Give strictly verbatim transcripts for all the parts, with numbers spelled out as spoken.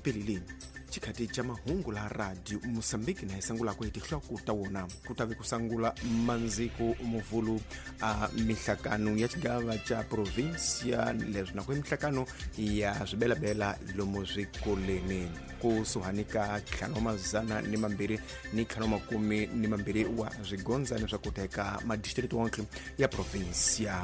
Xipelile xikhati xa mahungu la radio Mozambique na hi sangulako hi tinhloko ta wona ku ta ve ku sangula mandziko muvulu a mihlakano ya xigava xa provincia leswi na ku mihlakano ya swibelabela lomu swikoleni kusuhani ka ntlhanu wa mazana ni mambirhi ni ntlhanu wa makume ni mambirhi wa swigondzani swa ku teka madistrito wonke ya provincia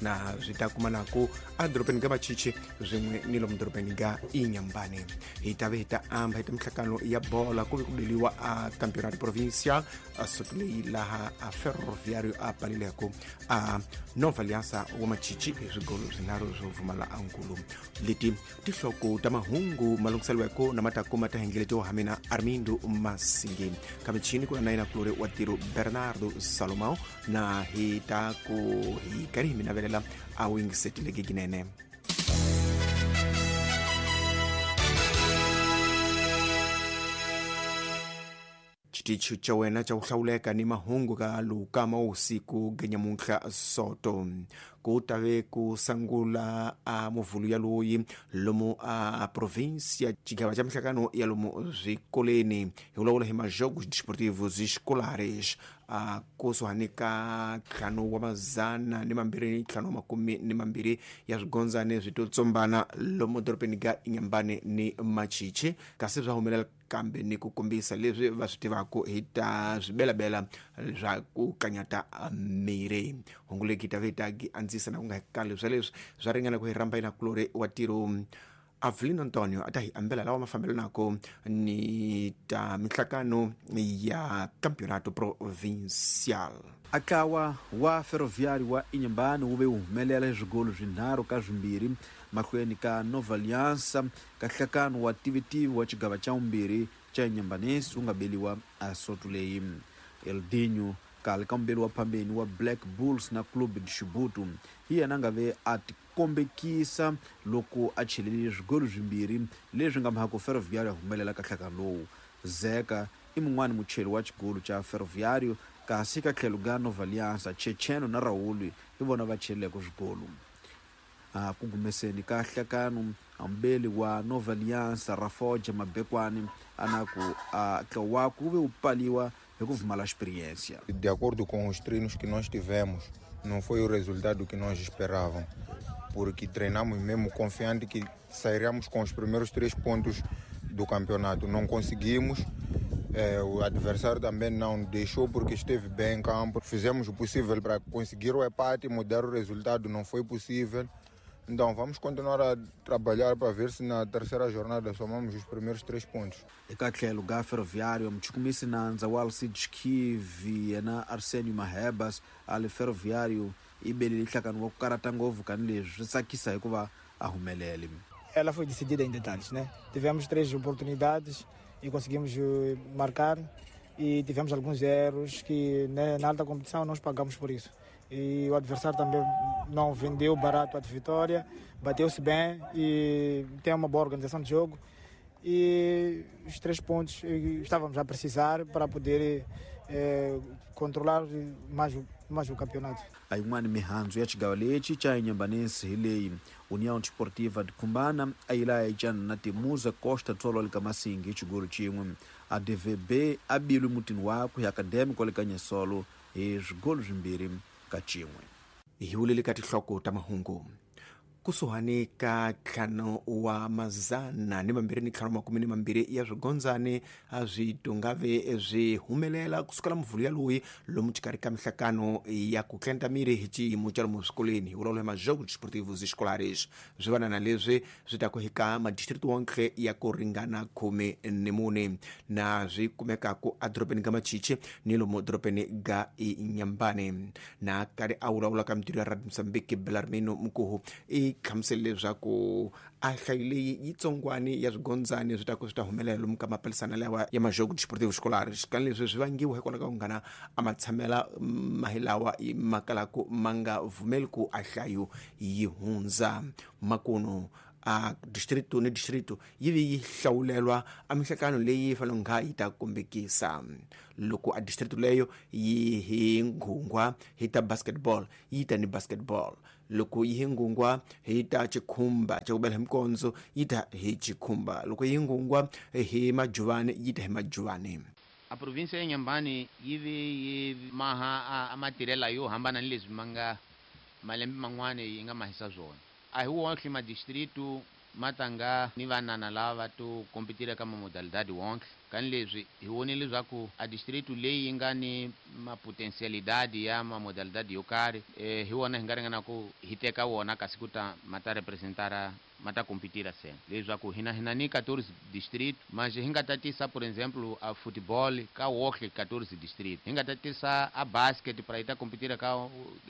na swi ta kuma naku edorobeni ka Machichi swin'we ni lomu dorobeni ka Inhambane. Hi ta ve hi ta amba hi ta mihlakano ya bola ku ve ku beliwa a campeonato provincial a soto leyi laha a Ferroviário a palileko a Nova Aliança wa Machichi hi swigolo swinharhu swo pfumala ankulu. Leti tinhloko ta mahungu malunghiseliweko na matakuma ta hengeletiwa ha mina Armindo Masingi kamichini ku na yena kulori wa tiro Bernardo Salomão na hi ta ku hi karhi hi minavelela a wingisetile ginene. Xitichi xa wena xa ku hlawuleka ni mahungu ka luka ma usiku genyamuntlha soto ku ta ve ku sangula a muvulu ya loyi lomu a provincia xigava xa mihlakano ya lomu swikoleni hi vulavula hi majogos desportivos escolares a kusuhani ka ntlhanu wa mazana ni mambirhi ni ntlhanu wa makume ni mambirhi ya swigondzani swi to tsombana lomu dorobeni ka Inhambane ni Machichi kasi swa humelela kambe ni ku kombisa leswi va swi tivaka hi ta swibelabela swa ku kanyata miri. Hungu leki ta ve ta andzisa na ku nga kali swa leswi swa ringana ku hi rhamba yina kulori wa tiro Avelino Antonio a ta hi ambela lawa mafambelo nako ni ta mihlakano ya campeonato provincial. Akawa wa Ferroviário wa Inhambane wu ve humelela hi swigolo swinharhu ka swimbirhi mahlweni ka Nova Aliança ka nhlakano wa tivitivi wa xigava xa vumbirhi xa Inhambanense wu nga beliwa a soto leyi. Eldinho kale ka mumbeli wa phambeni wa Black Bulls na Clube de Chibuto hi yena a nga ve a tikombekisa loko a chelelile swigolo swimbirhi leswi nga mhaka Ferroviário a humelela ka nhlakano lowu. Zeka i mun'wani mucheli wa xigolo xa Ferroviário kasi ka tlhelo ka Nova Aliança Checheno na Raul hi vona va cheleleke swigolo. A ku gumeseni ka nhlakano ambeli wa Nova Aliança Rafoja Mabekwani a na ku a tlawa ku ve wu paliwa hi ku pfumala experiência. De acordo com os treinos que nós tivemos, não foi o resultado que nós esperávamos, porque treinamos mesmo confiante que sairíamos com os primeiros três pontos do campeonato. Não conseguimos. É, o adversário também não deixou porque esteve bem em campo. Fizemos o possível para conseguir o empate, mudar o resultado, não foi possível. Então vamos continuar a trabalhar para ver se na terceira jornada somamos os primeiros três pontos. Eka tlhelo ka Ferroviário muchukumisi nandza wa Alcides Kivi yena Arsenio Mahebas a le Ferroviário i belile nhlakano wa ku karata ngopfu kani leswi swi tsakisa hikuva a humelele. Ela foi decidida em detalhes, né? Tivemos três oportunidades e conseguimos marcar e tivemos alguns erros que, né, na alta competição nós pagamos por isso. E o adversário também não vendeu barato a vitória, bateu-se bem e tem uma boa organização de jogo. E os três pontos estávamos a precisar para poder eh, controlar mais, mais o campeonato. A yin'wana mihandzu ya xigava lexi xa Inhambanense hi leyi União Desportiva de Cumbana a yi laya yi cana na Temuza Costa Tsolo ka Masingi hi xigolo xin'we. A D V B a bilwi mutini wakwe hi Académico le ka Nyesolo hi swigolo swimbirhi ka xin'we. Hi vulele ka tinhloko ta mahungu kusuhani ka ntlhanu wa mazana ni mambirhi ni ntlhanu makume ni mambirhi ya swigondzani a swi tungave swi humelela kusukela muvulu ya loyi lomu xikarhi ka mihlakano ya ku tlenta miri hi xiyimo xa lomu swikolweni hi vulavula hi majogos desportivos escolares swi vana na leswi swi ta ku hika madistrito wonke ya ku ringana khume ni mune na swi kumekaku edorobeni ka Machichi ni lomu dorobeni ga Inhambane. Na karhi a vulavula ka mitirho ya Radio Mozambique Belarmino Mkuhu i hlamusele leswaku a hlayo leyi yitsongwani ya swigondzani swi ta ku swi ta humelela lomu ka mapalisana lawa ya majogo desportivo escolares kani leswi swi vangiwa hikwalaho ka ku nghana a matshamela mahilawa ma kalaku ma nga vumeli ku a hlayo yi hundza makuno a distrito ni distrito yi vi yi hlawulelwa a mihlakano leyi fanele nga yi ta kombekisa loko a distrito leyo yi hi nghungwa hi ta basketball yi ta ni basketball Loko yi hi ngungwa hi ta chikhumba xa ku bela hi mikondzo yi ta hi chikhumba, loko yi ngungwa hi majuvani yi ta hi majuvani. A província ya Inhambane yi ve yi maha a matirhela yo hambana ni leswi ma nga malembe man'wana yi nga mahisa swona. A hi wonke madistritu ma tanga ni vanana lava to kompetira ka mamodalidade wonke. Kani leswi hi vonile leswaku a distritu leyi yi nga ni mapotensialidade ya mamodalidade yo karhi, eh, hi wona hi nga ringana ku hi teka wona kasi ku ta ma ta representara ma ta kompetira sena. Leswaku hina hina ni quatorze distrito, mas hi nga tatisa por exemplo a futebol ka wonke quatorze distrito, hi nga tatisa a basket para yi ta kompetira ka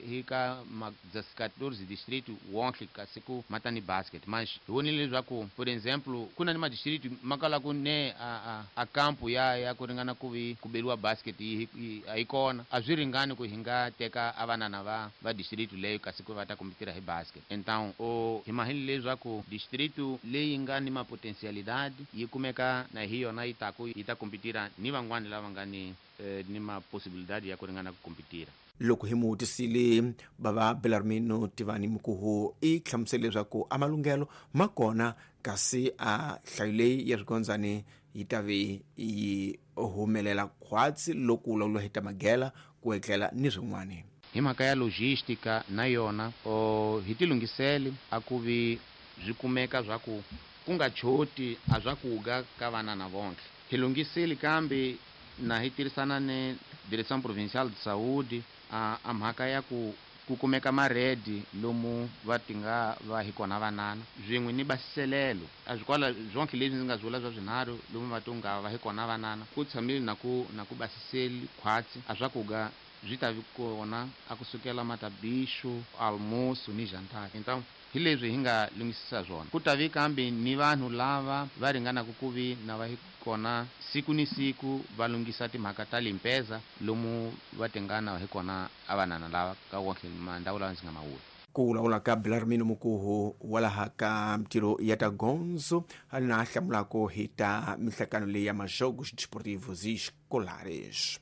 hi ka ma quatorze distrito wonke kasi ku ma ta ni basket. Mas hi vonile leswaku por exemplo ku na ni madistrito ma kala ku ne a a, a kampo ya ya ku ringana ku vi ku beriwa basket yi a yi kona, a swi ringani ku hi nga teka a vanana va va distrito leyo kasi ku va ta kompetira hi basket. Então o hi mahile leswaku distrito leyi nga ni mapotensialidade yi kumeka na hi yona yi taku yi ta kompetira ni van'wani lava nga ni eh, ni maposibilidade ya ku ringana ku kompetira. Loko hi mutisile bava Belarmino Tivani Mukuhu i hlamusele leswaku a malunghelo ma kona, kasi a nhlayo leyi ya swigondzani yi ta ve yi humelela khwatsi loko u lawula hi ta magela ku etlela ni swin'wana. Hi mhaka ya logistica na yona o hi tilunghisele a ku vi swi kumeka swa ku ku nga choti a swa ku ga ka vanana vonke. Hi lunghisile kambe na hi tirhisana ni Direção Provincial de Saúde a, a mhaka ya ku ku kumeka maredi lomu va tinga va hi kona vanana swin'we ni basiselelo. A swi kwala zonke leswi ndzi nga swi vula swa swinharhu lomu va tinga va hi kona vanana ku tshamile na ku na ku basiseli khwatsi a swa ku ga swi ta vi kona a kusukela matabixo, almoço ni jantar. Então hi leswi hi nga lunghisisa swona. Ku ta vi kambe ni vanhu lava va ringanaka ku vi na va hi kona siku ni siku va lunghisa timhaka ta limpeza lomu va tingana hi kona a vanana lava ka wonke mandhawu lawa ndzi nga ma vula. Ku vulavula ka Belarmino Mukuhu wa laha ka mitiro ya ta gondzo na hlamulako hi ta mihlakano leyi ya majogos desportivos escolares.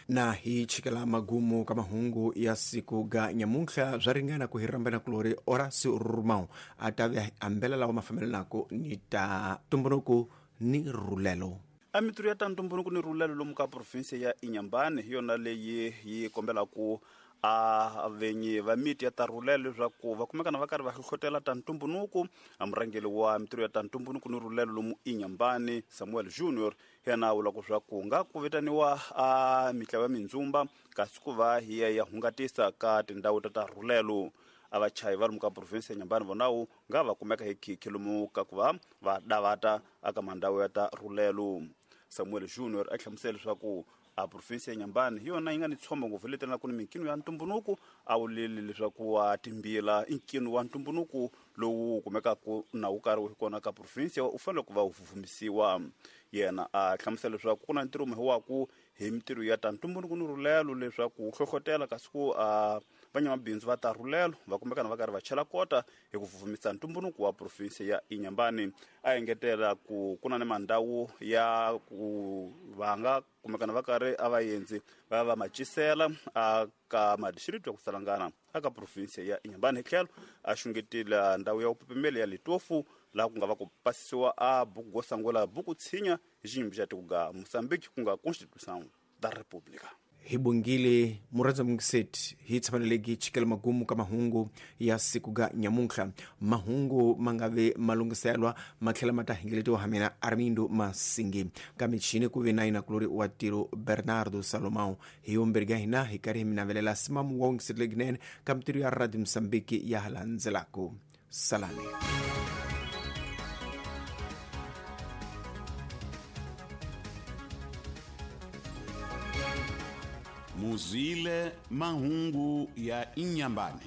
Na hi chikela magumu ka mahungu ya siku ga nyamuntlha swa ringana ku hi rhambana kulori Horácio Romão a ta ve ambela lawa ma fambelanaka ni ta ntumbuluko ni rhulelo. A mitirho ya ta ntumbuluko ni rhulelo lomu ka province ya Inhambane hi yona leyi yi kombelaku a venyi va miti ya ta rhulelo leswaku va kumekana va karhi va hlohlotela ta ntumbuluko. A murhangeri wa mitirho ya ta ntumbuluko ni rhulelo lomu Inhambane Samuel Junior yena a vula ku swa ku nga ku vitaniwa a mitlawa ya mindzumba kasi ku va hi ya ya hungatisa ka tindhawu ta ta rhulelo. A vachayi va lomu ka province ya Inhambane vonawu nga va kumeka hi khikhi lomu ka ku va va davata aka mandhawu ya ta rhulelo. Samuel Junior a hlamusela leswaku a province ya Inhambane hi yona yi nga ni tshombo ngopfu leyi telaka ni minkino ya ntumbuluko. A vuleli leswaku wa timbila i nkino wa ntumbuluko lowu kumekaka na wu karhi wu kona ka province u fanele ku va wu vumisiwa. Yena a hlamusela leswaku ku na ntirho wa ku hi mitirho ya ta ntumbuluko ni rhulelo leswaku wu hlohlotela kasi ku a vanyamabindzu va ta rhulelo va kumekana va karhi va chela kota hi ku vumisa ntumbuluko wa province ya Inhambane. A engetela ku ku na ni mandhawu ya ku va nga kumekana va karhi a vaendzi va ya va macisela a ka madistrito ya ku salangana aka province ya Inhambane. Hi tlhelo a xungetile ndhawu ya vupepemeli ya Litofu laha ku nga va ku pasisiwa a buku go sangula buku tshinya hi xiyimbi xa tiko ga Mozambique ku nga Constituição da República. Hi bongile murhandza mungiseti hi tshamaneleki chikela magumu ka mahungu ya siku ga nyamuntlha. Mahungu ma nga ve malunghiselwa ma tlhela ma ta hingeletiwa ha mina Armindo Masingi ka michini ku ve na yina kulori wa tiro Bernardo Salomão. Hi yombirhi ka hina hi karhi hi mi navelela simamu wa wungisetile kunene ka mitirho ya Radio Mozambique ya hala ndzelaku. Salani. Muzile mahungu ya Inhambane.